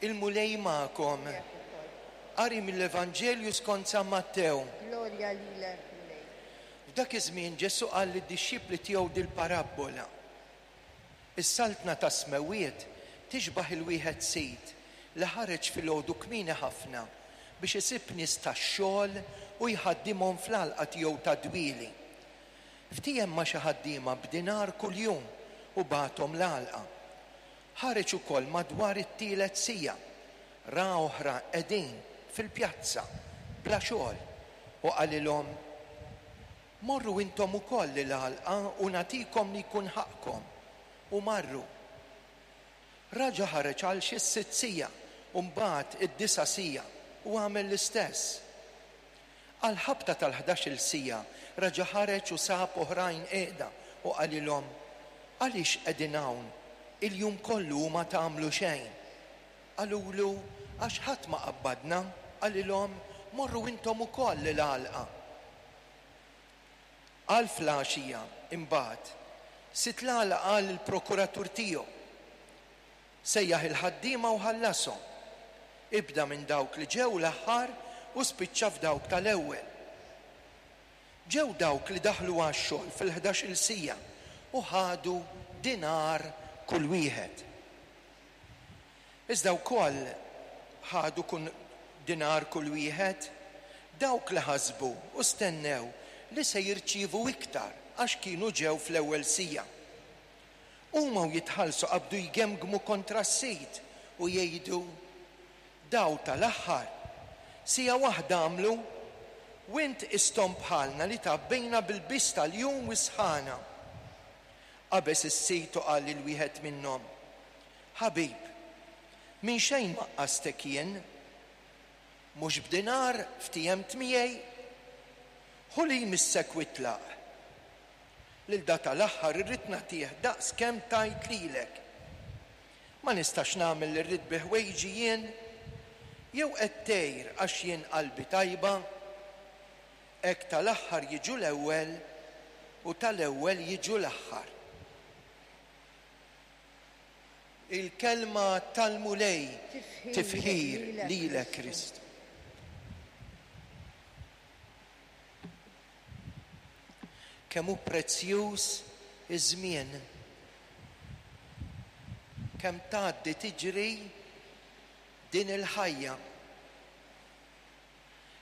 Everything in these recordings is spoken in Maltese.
Il-Mulej magħkom. Miegħek ukoll. Qari mill-Evanġelju skont San Mattew. Glorja lilek, Mulej. F'dak iż-żmien Ġesù qal lid-dixxipli tiegħu dil-parabbola. Is-saltna tas-smewwiet tixbah il-wieħed sid li ħareġ filgħodu kmieni ħafna biex isib nies tax-xogħol u jħaddimhom fl-għalqa tiegħu tad-dwieli. Ftiehem ma' xi ħaddiema b'dinar kuljum u bagħathom l-għalqa. Ħareġ ukoll madwar it-tielet siegħa, ra oħra qegħdin fil-pjazza bla xogħol u qalilhom, Morru intom ukoll l-għalqa u nagħtikom li jkun ħaqqkom. U marru. Raġa' ħareġ għal xi s-sitt siegħa u mbagħad id-disa' siegħa u għamel l-istess. Għall-ħabta tal-ħdax-il siegħa raġa' ħareġ u sab oħrajn qiegħda u qalilhom, Għaliex qegħdin hawn il-jum kollu u ma tagħmlu xejn? Qalulu, Għax ħadd ma qabbadna. Qalilhom, Morru intom ukoll l-għalqa. Għal fl-għaxija, imbagħad, sid l-għalqa qal lill-prokuratur tiegħu, Sejjaħ il-ħaddiema u ħallashom. Ibda minn dawk li ġew l-aħħar u spiċċa f'dawk tal-ewwel. Ġew dawk li daħlu għax-xogħol fil-ħdax-il siegħa u ħadu dinar kull wieħed. Iżda wkoll ħadu kun dinar kull wieħed dawk li ħasbu u stennew li se jirċievu iktar għax kienu ġew fl-ewwel siegħa. Huma u jitħallsu qabdu jgemgmu kontra s-sid u jgħidu, Daw tal-aħħar, siegħa waħda għamlu, u int qisthom bħalna li tgħabbejna bil-biż tal-jum u s-sħana. Qabeż is-sid u qal lil wieħed minnhom, Ħabib, minn xejn ma qastek jien? Mhux b'dinar ftiehemt miegħi? Ħu li jmissek u itlaq. Lil da tal-aħħar irrid nagħtih daqs kemm tajt lilek. Ma nistax nagħmel li rrid bi ħwejġi jien? Jew qed tgħir għax jien qalbi tajba? Hekk tal-aħħar jiġu l-ewwel u tal-ewwel jiġu l-aħħar. Il-kelma tal-Mulej. Tifħir lilek Kristu. Kemm hu prezzjuż iż-żmien. Kemm tgħaddi tiġri din il-ħajja.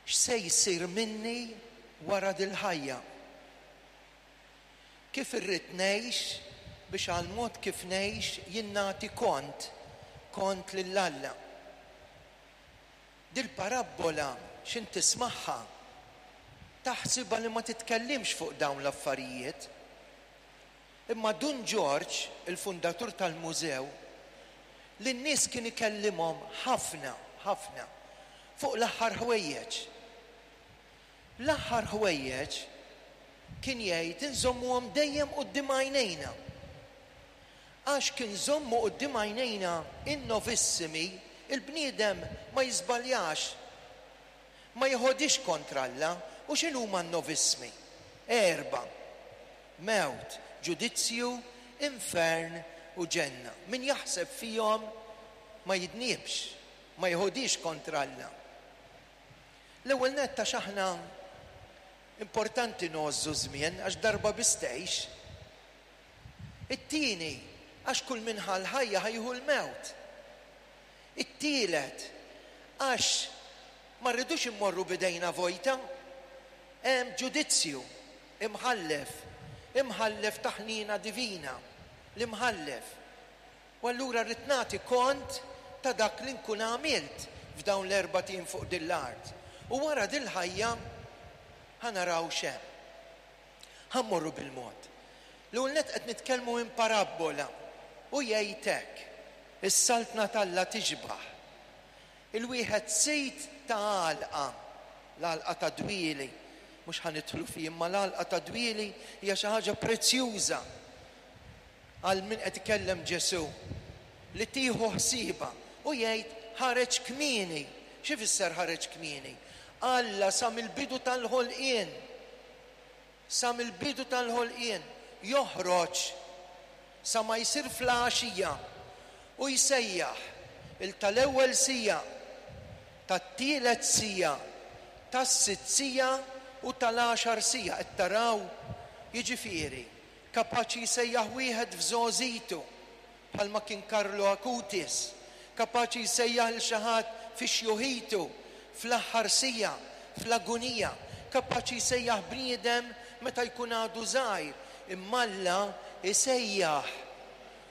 X'se jsir minni wara dil-ħajja? Kif irrid ngħix biex għall-mod kif ngħix jien nagħti kont, kont lil Alla? Dil-parabbola x'int tismagħha taħsibha li ma titkellimx fuq dawn l-affarijiet. Imma Dun Ġorġ, il-fundatur tal-mużew, lin-nies kien ikellimhom ħafna, ħafna fuq l-aħħar ħwejjeġ. L-aħħar ħwejjeġ kien jgħid inżommuhom dejjem quddiem għajnejna. Għax kien żommu quddiem għajnejna in-novissimi, il-bniedem ma jiżbaljax, ma jeħodhiex kontra Alla. U x'inhuma n-novissmi? Erbgħa, mewt, ġudizzju, infern u ġenna. Min jaħseb fihom ma jidnibx, ma jeħodhiex kontra Alla. L-ewwel nett għax aħna importanti ngħożżu ż-żmien għax darba biss tgħix. It-tieni, għax kull min ħa l-ħajja ħa jieħu l-mewt. It-tielet, għax ma rridux immorru b'idejna vojta. Hemm ġudizzju, imħallef, imħallef ta' ħniena divina, l-imħallef. U allura rrid nagħti kont ta' dak li nkun għamilt f'dawn l-erbat ijiem fuq din l-art. U wara dil-ħajja ħa naraw x'hemm. Ħa mmorru bil-mod. L-ewwel nett qed nitkellmu minn parabbola u jgħid hekk, Is-Saltna t'Alla tixbah il-wieħed sid ta' għalqa, l-għalqa ta' dwieli, mhux ħa nidħlu fih, imma l-għalqa ta' dwieli hija xi ħaġa prezzjuża għal min qed ikellem Ġesù, li tieħu ħsiebha u jgħid ħareġ kmieni. X'ifisser ħareġ kmieni? Alla sa mill-bidu tal-ħolqien Sa mill-bidu tal-ħolqien, joħroġ sa ma jsir fl-għaxija u jsejjaħ. Il tal-ewwel siegħa, tat-tielet siegħa, tas-sitt siegħa u tal-għaxar siegħa. Qed taraw? Jiġifieri, kapaċi jsejjaħ wieħed f'żgħożitu, bħalma kien Carlo Acutis, kapaċi jsejjaħ lil xi ħadd fi xjuħitu, fl-aħħar siegħa, fl-agunija, kapaċi jsejjaħ bniedem meta jkun għadu żgħir, imma Alla jsejjaħ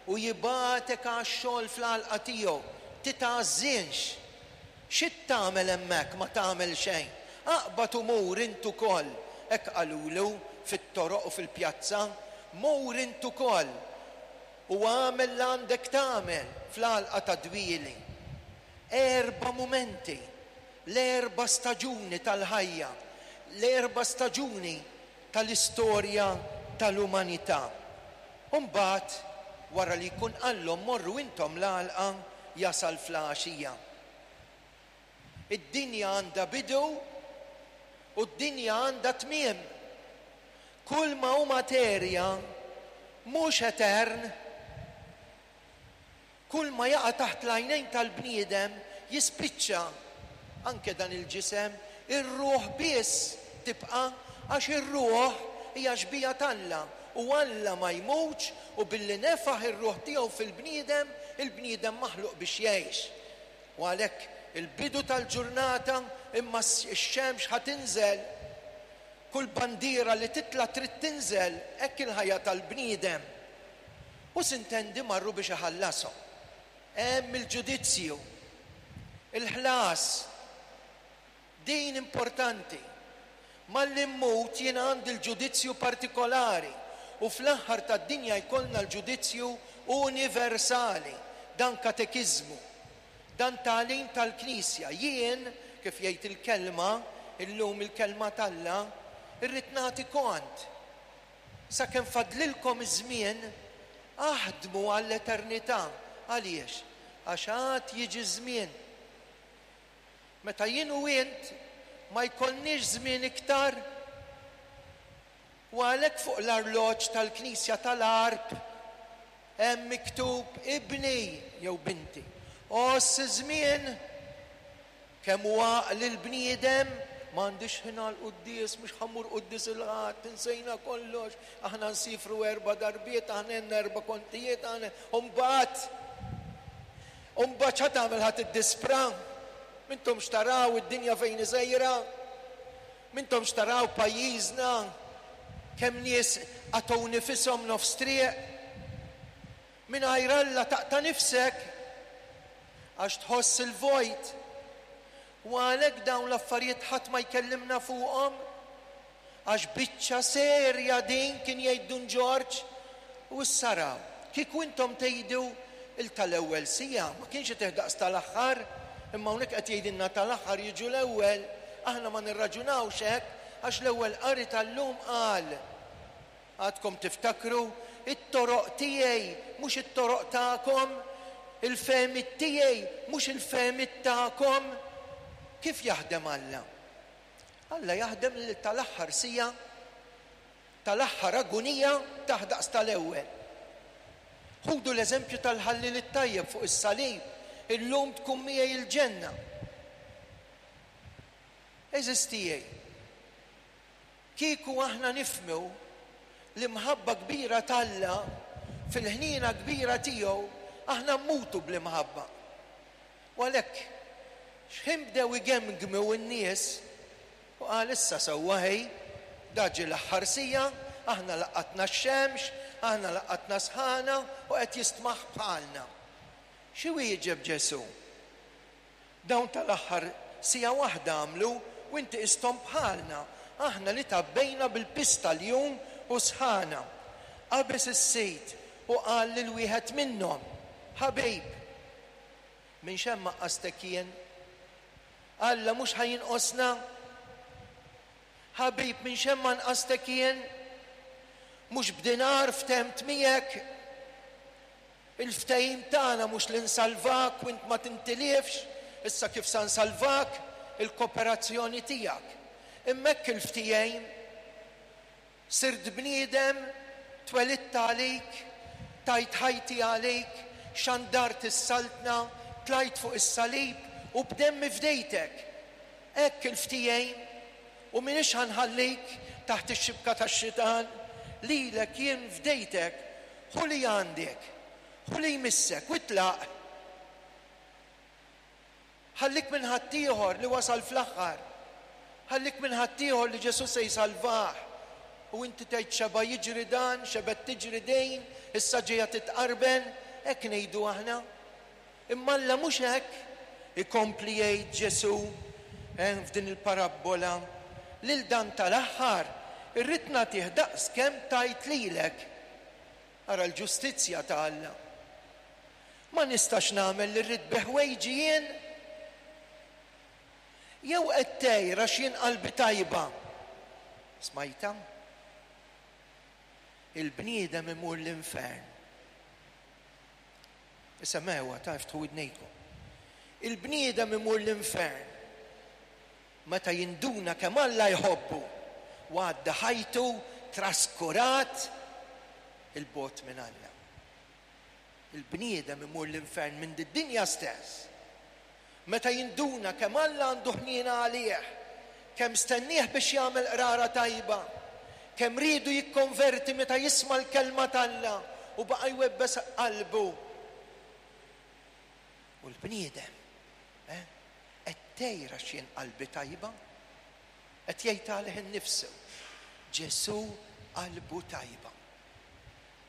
u jibgħatek għax-xogħol fl-għalqa tiegħu. Titgħażżinx. Xi tagħmel hemmhekk ma tagħmel xejn? Aqbad u mur int ukoll, hekk qalulu fit-toroq u fil-pjazza, mur int ukoll u agħmel l-għandek tagħmel fl-għalqa tad-dwieli. Erba' mumenti, l-erba' staġuni tal-ħajja, l-erba' staġuni tal-istorja tal-umanità. U mbagħad, wara li jkun qallhom morru intom l-għalqa, jasal fl-għaxija. Id-dinja għandha bidu u d-dinja għandha tmiem. Kull ma hu materja mhux etern. Kull ma jaqa' taħt l-għajnejn tal-bniedem jispiċċa, anke dan il-ġisem, ir-ruħ biss tibqa' għax ir-ruħ hija xbieha t'Alla u Alla ma jmutx u billi nefaħ ir-ruħ tiegħu fil-bniedem, il-bniedem maħluq biex jgħix. U għalhekk il-bidu tal-ġurnata imma x-xemx ħa tinżel. Kull bandiera li titla' trid tinżel, hekk il-ħajja tal-bniedem. U sintendi marru biex iħallashom. Hemm il-ġudizzju. Il-ħlas. Din importanti. Malli mmut jien għandi l-ġudizzju partikolari u fl-aħħar tad-dinja jkollna l-ġudizzju universali. Dan katekiżmu. Dan tagħlim tal-Knisja. Jien, kif jgħid il-Kelma, illum il-Kelma t'Alla, irrid nagħti kont. Sakemm fadlilkom iż-żmien, aħdmu għall-eternità. Għaliex? Għax għad jiġi żmien meta jien u int ma jkollniex żmien iktar. U għalhekk fuq l-arloġġ tal-knisja tal-Għarb hemm miktub ibni jew binti. Għożż iż-żmien Kemm hu għaqli l-bniedem, m'għandix ħin għall-quddies, mhux ħa mmur quddies il-Ħadd, insejna kollox, aħna nsifru erba' darbiet, aħna għandna erba' kontijiet, aħna u mbagħad u mbagħad x'ħa tagħmel ħa tiddispra? M'intomx taraw id-dinja fejn hi sejra? M'intomx taraw pajjiżna kemm nies qatgħu nifishom nofs triq? Mingħajr Alla taqta' nifsek għax tħoss il-vojt. U għalhekk dawn l-affarijiet ħadd ma jkellimna fuqhom. Għax biċċa serja din kien jgħid Dun Ġorġ. U issa araw, kieku intom tgħidu il tal-ewwel siegħa ma kienx itih daqs tal-aħħar, imma hawnhekk qed jgħidilna tal-aħħar jiġu l-ewwel, aħna ma nirraġunawx hekk għax l-ewwel qari tal-lum qal, Għadkom tiftakru? It-toroq tiegħi mhux it-toroq tagħkom, il-fehmiet tiegħi mhux il-fehmiet tagħkom. Kif jaħdem Alla? Alla jaħdem lil tal-aħħar siegħa, tal-aħħar agunija tah daqs tal-ewwel. Ħudu l-eżempju tal-ħalliel it-tajjeb fuq is-salib, illum tkun miegħi l-ġenna. Għeżież tiegħi, Kieku aħna nifhmu l-imħabba kbira t'Alla fil-ħniena kbira tiegħu, aħna mmutu bl-imħabba. U għalhekk, x'ħin bdew igemgmu n-nies, hu qal, Issa sewwa ħej, da ġie l-aħħar siegħa, aħna laqatna x-xemx, aħna laqatna sħana u qed jistmaħ bħalna. Xi wieġeb Ġesù? Dawn tal-aħħar siegħa waħda għamlu u inti qisthom bħalna, aħna li tgħabbejna bil-piż tal-jum u s-sħana. Qabeż is-Sid u qal lil wieħed minnhom, Ħabib, minn x'hemm għaqqastek jien? Alla mhux ħa jinqosna? Ħabib, minn x'hemm għanqastek jien? Mhux b'dinar ftemt miegħek? Il-ftehim tagħna mhux li nsalvak u int ma tintilifx, issa kif sa nsalvak? Il-koperazzjoni tiegħek. Imma hekk il-ftehim. Sirt bniedem, twelidt għalik, tajt ħajti għalik, xandart is-Saltna, Tlajt fuq is-salib u b'demmi fdejtek. Hekk il-ftehim u m'iniex ħa nħallik taħt ix-xibka tax-xitan. Lilek jien fdejtek. Ħu li għandek. Ħu li jmissek u itlaq. Ħallik minn ħaddieħor li wasal fl-aħħar. Ħallik minn ħaddieħor li Ġesù se jsalvah. U inti tgħid xeba' jiġri dan, xebgħet tiġri din, issa ġejja titqarben, hekk ngħidu aħna. Imma Alla mhux hekk. Ikompli jgħid Ġesù f'din il-parabbola, lil dan tal-aħħar irrid nagħtih daqs kemm tajt lilek. Ara l-ġustizzja ta' Alla. Ma nistax nagħmel li rrid bi ħwejġi jien? Jew qed tgħir għax jien qalbi tajba? Smajtha? Il-bniedem imur l-infern. Isemgħuha ta' iftħu widnejkom. Il-bniedem imur l-infern meta jinduna kemm Alla jħobbu u għadda ħajtu traskurat 'il bogħod minn Alla. Il-bniedem imur l-infern minn did-dinja stess meta jinduna kemm Alla għandu ħniena għalih, kemm stennieh biex jagħmel qrara tajba, kemm riedu jikkonverti meta jisma' l-kelma t'Alla u baqa' jwebbes qalbu. U l-bniedem, eh, qed tgħir għax jien qalbi tajba? Qed jgħid għalih innifsu. Ġesù qalbu tajba.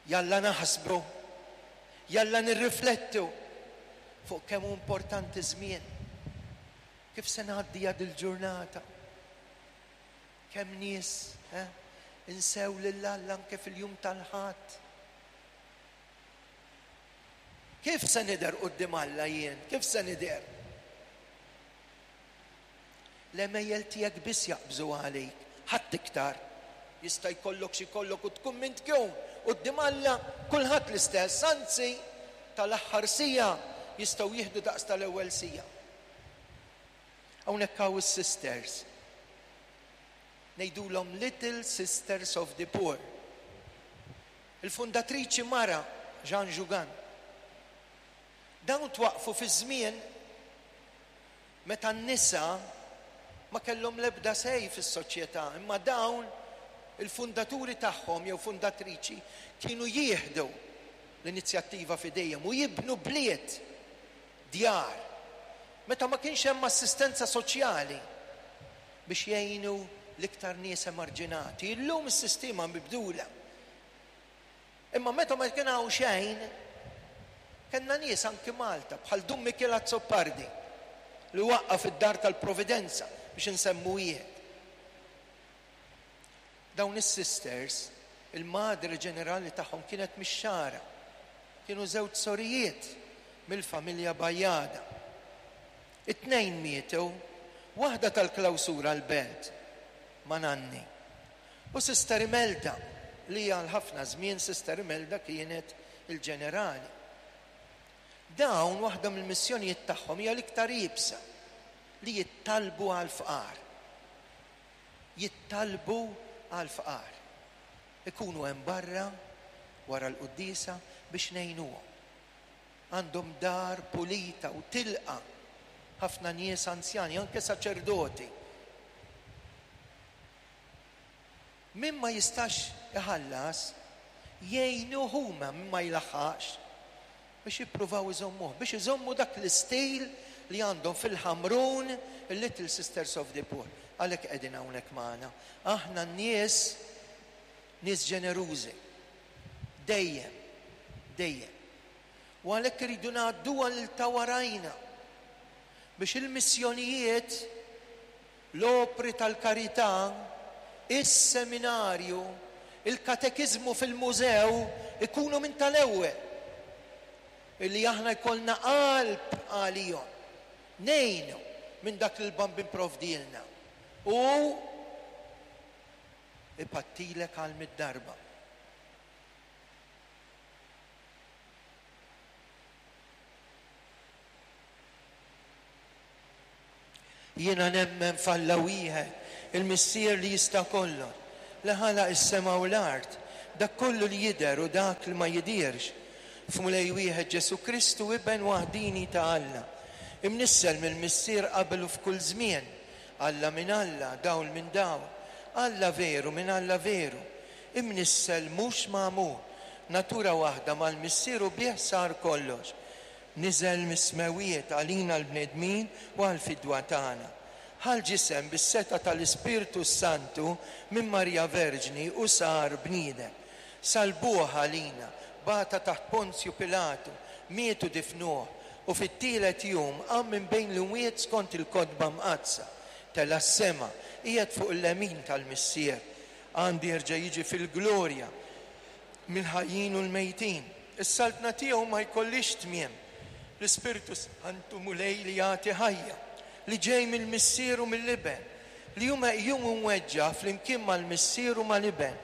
Jalla naħsbu, jalla nirriflettu fuq kemm hu importanti ż-żmien. Kif se ngħaddiha dil-ġurnata? Kemm nies eh, insew lil Alla anke fil-jum tal-Ħadd. Kif se nidher quddiem Alla jien? Kif se nidher? L-għemejjel tiegħek biss jaqbżu għalik, ħadd iktar. Jista' jkollok x'ikollok u tkun min tkun, quddiem Alla kulħadd l-istess, anzi tal-aħħar siegħa jistgħu jieħdu daqs tal-ewwel siegħa. Hawnhekk hawn is-sisters. Ngħidulhom Little Sisters of the Poor. Il-fundatriċi mara, Jeanne Jugan. Dawn twaqqfu fi żmien meta n-nisa ma kellhom l-ebda say fis-soċjetà, imma dawn il-fundaturi tagħhom jew fundatriċi kienu jieħdu l-inizjattiva f'idejhom u jibnu bliet, djar, meta ma kienx hemm assistenza soċjali biex jgħinu l-iktar nies emarġinati. Illum is-sistema mibdula. Imma meta ma kien hawn xejn, kellna nies anki Malta bħal Dun Mikiel Azzopardi li waqqaf id-Dar tal-Providenza biex insemmu wieħed. Dawn is-sisters, il-madre ġenerali tagħhom kienet mix-Xagħra. Kienu żewġ sorijiet mill-familja Bajada. It-tnejn mietu, waħda tal-klawsura l-Belt ma' nanni. U Sister Imelda, li għal ħafna żmien Sister Imelda kienet il-ġenerali. Dawn waħda mill-missjonijiet tagħhom hija l-iktar iebsa, li jittallbu għall-fqar. Jittallbu għall-fqar. Ikunu hemm barra wara l-quddiesa biex ngħinuhom. Għandhom dar pulita u tilqa' ħafna nies anzjani, anke saċerdoti. Min ma jistax iħallas, jgħinuh huma min ma jlaħħaqx biex jippruvaw iżommuh, biex iżommu dak l-istil li għandhom fil-Ħamrun il-Little Sisters of the Poor. Għalhekk qegħdin hawnhekk magħna. Aħna n-nies nies ġenerużi. Dejjem, dejjem. U għalhekk irridu ngħadduha lil ta' warajna biex il-missjonijiet l-opri tal-karità, is-seminarju, il-katekiżmu fil-mużew ikunu minn tal-ewwel. Illi aħna jkollna qalb għalihom. Ngħinu minn dak li l-Bambin provdielna. U ipattilek għal mid-darba. Jiena nemmen f'Alla wieħed, il-Missier li jista' kollox, li ħalaq is-sema u l-art, dak kollu li jidher u dak li ma jidhirx. F'Mulej wieħed Ġesù Kristu, Iben waħdini ta' Alla, imnissel mill-Missier qabel u f'kull żmien, Alla minn Alla, dawl minn dawl, Alla veru minn Alla veru, imnissel mhux magħmul, natura waħda mal-Missier u bih sar kollox. Niżel mis-smewwiet għalina l-bnedmin u għall-fidwa tagħna. Ħa l-ġisem bis-setgħa tal-Ispirtu s-Santu minn Marija Verġni u sar bniedem. Sallbuh għalina, bata taħt Ponzju Pilatu, miet u difnuh, u fit-tielet jum qam minn bejn l-imwiet skont il-Kotba Mqaddsa. Tela' s-sema, qiegħed fuq il-lemin tal-Missier. Għandu jerġa' jiġi fil-glorja mill-ħajjin u l-mejtin. Is-saltna tiegħu ma jkollhiex tmiem. L-Ispirtu s-Santu Mulej li jagħti ħajja, li ġej mill-Missier u mill-Iben, li hu meqjum u mweġġa' flimkien mal-Missier u mal-Iben.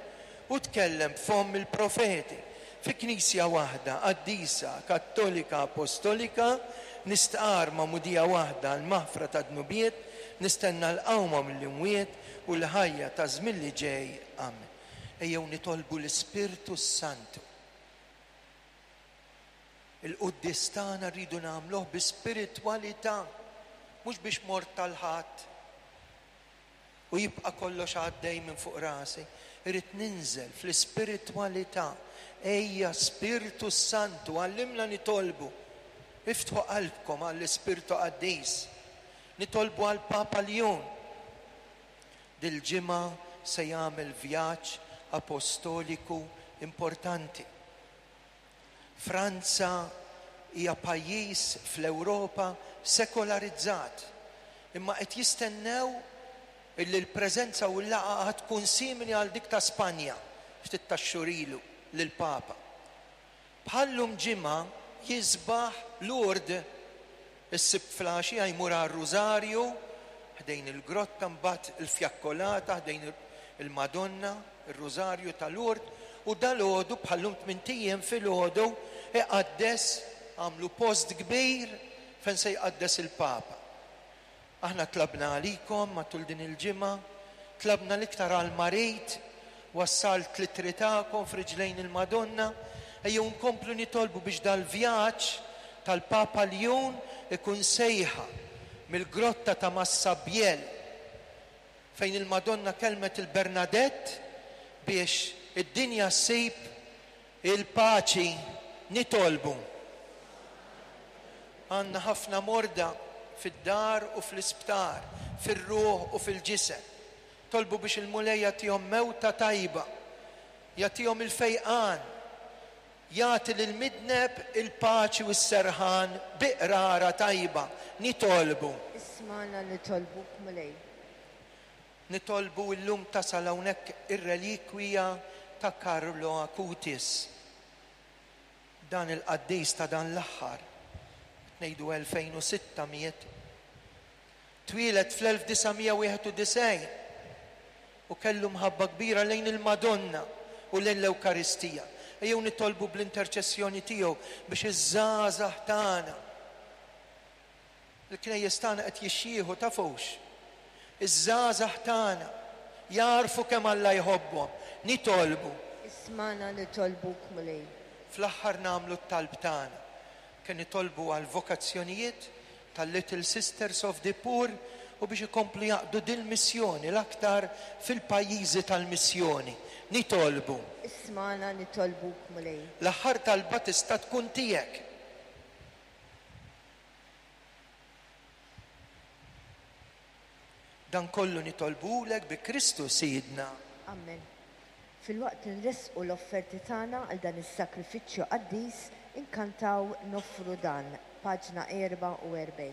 Hu tkellem b'fomm il-profeti. Fi Knisja waħda, qaddisa, kattolika, apostolika, nistqarr magħmudija waħda għall-maħfra tad-dnubiet, nistenna l-qawma mill-imwiet u l-ħajja taż-żmien li ġej. Amen. Ejjew nitolbu l-Ispirtu s-Santu. Il-quddies tagħna rridu nagħmluh bi spiritwalità, mhux biex mort tal-Ħadd u jibqa' kollox għaddej minn fuq rasi. Irrid ninżel fl-ispiritwalità. Ejja Spirtu s-Santu, għallimna nitolbu. Iftħu qalbkom għall-Ispirtu Qaddis. Nitolbu għall-Papa Ljun. Dil-ġimgħa se jagħmel vjaġġ apostoliku importanti. Franza hija pajjiż fl-Ewropa sekolarizzat, imma qed jistennew illi l-preżenza u l-laqgħa għad tkun simili għal dik ta' Spanja ftit tax-xhur ilu lill-Papa. Bħal-lum ġimgħa jisbaħ Lourdes. Is-Sibt filgħaxija jmur għar-Rużarju ħdejn il-grotta mbagħad il-fjakkolata ħdejn il-Madonna, ir-Rużarju ta' Lourdes, u dalgħodu bħal-lum tmint ijiem filgħodu iqaddes, għamlu post kbir fejn se jqaddes il-Papa. Aħna tlabna għalikom matul din il-ġimgħa, tlabna l-iktar għall-marid, wassalt l-ittri tagħkom f'riġlejn il-Madonna, ejjew nkomplu nitolbu biex dal-vjaġġ tal-Papa Ljun ikun sejħa mill-grotta ta' Massabielle fejn il-Madonna kellmet 'il Bernadette biex id-dinja ssib Il-paċi nitolbu. Għandna ħafna morda fid-dar u fl-isptar, fir-ruħ u fil-ġisem. Tolbu biex il-Mulej jagħtihom mewta tajba, jagħtihom il-fejqan, jagħti lill-midneb il-paċi u s-serħan bi qrara tajba. Nitolbu. Ismagħna nitolbuk, Mulej. Nitolbu illum tasal hawnhekk ir-relikwija ta' Carlo Acutis. Dan il-qaddis ta' dan l-aħħar, qed ngħidu 2006 miet. Twieled fl-1991 u kellu mħabba kbira lejn il-Madonna u lejn l-Ewkaristija. Ejjew nitolbu bl-interċessjoni tiegħu biex iż-żgħażagħ tagħna Il-knejjes tagħna qed jixjieħu, tafux? Iż-żgħażagħ tagħna jagħrfu kemm Alla jħobbhom. Nitolbu. Ismagħna nitolbuk, Mulej. Fl-aħħar nagħmlu t-talb tagħna. Kemm nitolbu għall-vokazzjonijiet tal-Little Sisters of the Poor u biex ikomplu jaqdu dil-missjoni l-aktar fil-pajjiżi tal-missjoni. Nitolbu. Ismagħna nitolbuk, Mulej. L-aħħar talba tista' tkun tiegħek. Dan kollu nitolbuhulek bi Kristu Sidna. Amen. Filwaqt li nressqu l-offerti tagħna għal dan is-sagrifiċċju qaddis, inkantaw Noffru Dan, paġna 44.